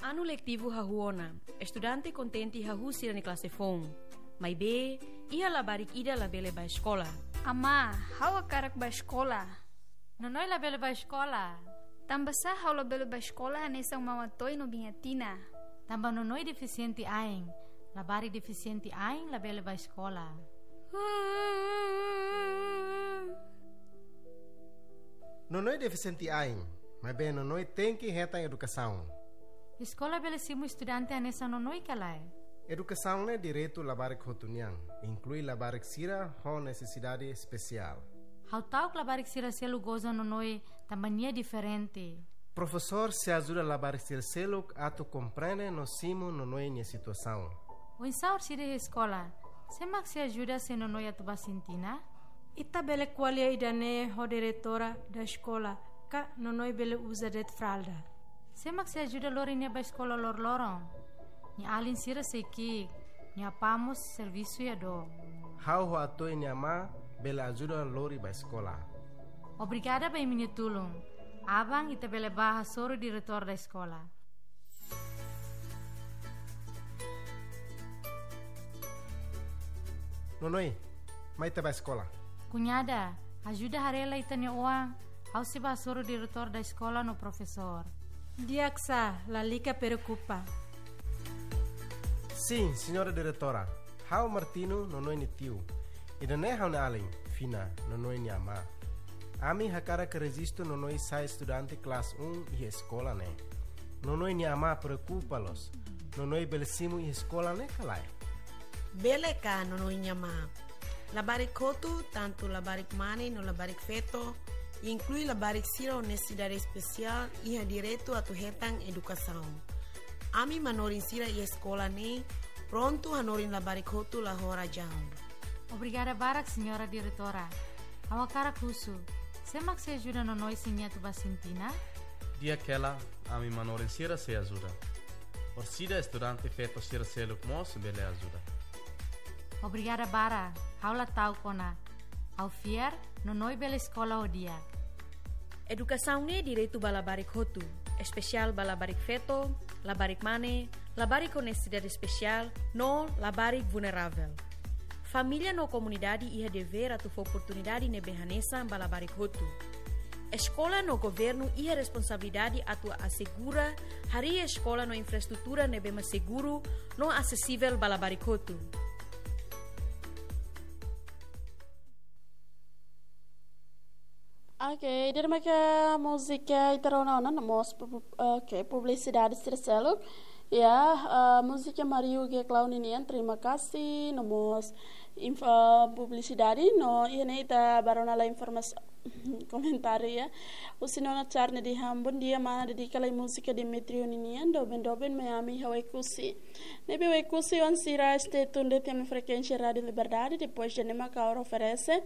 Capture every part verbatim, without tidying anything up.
Anu letivu hahú ona, estudante kontente hahú sira-nia klase foun. Maibé, iha labarik ida labele bá eskola. Amá, ha'u hakarak bá eskola. Nonoi labele bá eskola. Tanbasá ha'u labele bá eskola hanesan Maun Atoy no Biin Atina? Tanba Nonoi defisiente ain. Labarik defisiente ain labele bá eskola. Nonoi defisiente ain, maibé Nonoi tenke hetan edukasaun. Eskola bele simu estudante hanesan Nonoi ka lae? Edukasaun ne'e direitu labarik hotu nian, inklui labarik sira ho nesesidade espesiál. Ha'u ta'uk labarik sira seluk goza Nonoi tanba nia diferente. Profesór sei ajuda labarik sira seluk atu komprende no simu Nonoi nia situasaun. Oinsá orsida iha eskola, sé mak sei ajuda se Nonoi atu bá sintina? Ita bele ko'alia ida-ne'e ho diretora da eskola, ka Nonoi bele uza de'it fralda. Sé mak sei ajuda lori nia bá eskola loroloron? Nia alin sira sei ki'ik, nia apá mós servisu iha dook. Ha'u ho Atoy nia amá bele ajuda lori bá eskola. Obrigada ba imi-nia tulun. Aban ita bele bá hasoru diretór da eskola. Nonoi, mai ita bá eskola. Kuñada, ajuda haree lai ita-nia oan, ha'u sei bá hasoru diretór da eskola no profesór. Di'ak sá, lalika preokupa. Sin, señora diretora. Ha'u Martino, Nonoi nia tiu. Ida-ne'e ha'u-nia alin, Fina, Nonoi nia amá. Ami hakarak rejistu Nonoi sai estudante klase um iha eskola ne'e. Nonoi nia amá preokupa loos. Nonoi bele simu iha eskola ne'e ka lae? Bele ka, Nonoi nia amá. Labarik hotu, tantu labarik mane no labarik feto, inklui labarik sira ho nesesidade espesiál, iha direitu atu hetan edukasaun. Ami manorin sira iha eskola ne'e prontu hanorin labarik hotu la ho razaun. Obrigada barak, señora diretora. Ha'u hakarak husu, sé mak sei ajuda Nonoi se nia atu bá sintina? Di'ak hela, ami manorin sira sei ajuda. Orsida estudante feto sira seluk mós bele ajuda. Obrigada barak, ha'u la ta'uk ona. Ha'u fiar, Nonoi bele eskola ho di'ak. Edukasaun ne'e direitu ba labarik hotu, espesiál ba labarik feto, labarik mane, labarik ho nesesidade espesiál, no labarik vulneravel. Família no komunidade iha devér atu fó oportunidade ne'ebé hanesan ba labarik hotu. Eskola no governu iha responsabilidade atu asegura harii eskola no infraestrutura ne'ebé mak seguru no asesivel ba labarik hotu. Ok, ida-ne'e mak múzika ita rona ona, no mós pu-, pu-, ok, publisidade sira seluk. Ya, ah, múzika Mariu Geklau ninian, terima kasih, no mós inf-, ah, publisidade, no iha ne'e ita bá rona lai informasaun, komentáriu, ya. Husi Nona Charne dehan, bom dia mana, dedika lai múzika Demetrio ninian, doben doben mai ami iha Oekusi. Ne'ebé Oekusi-oan sira stay tuned de'it iha ami frekuénsia Rádiu Liberdade, depois de ne'e mak ha'u oferese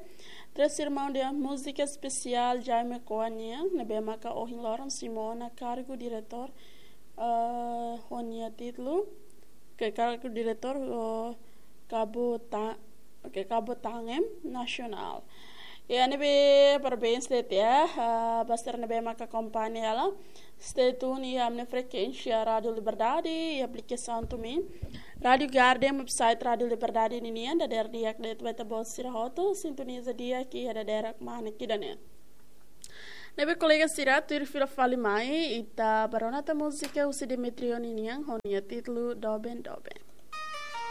Três Irmãos dehan múzika espesiál Jaime Koania, ne'ebé maka ohin loron simu ona kargu diretór, ah, ho nia títulu, ke kargu diretór, oh, Kabuta-, ke Kabutangem Nasionál. Ya, ne'ebé parabéns de'it ya, ah, ba sira ne'ebé maka akompaña hela. Stay tuned iha ami-nia frekuénsia Rádiu Liberdade, iha aplikasaun TuneIn, Rádiu Garden, website Rádiu Liberdade ninian, dadeer di'ak de'it ba ita-boot sira hotu, sintoniza di'ak iha dadeer mane ida-ne'e. Ne'ebé kolega sira, tuir fila fali mai, ita bá rona tan múzika husi Demetrio ninian, ho nia títulu Doben Doben.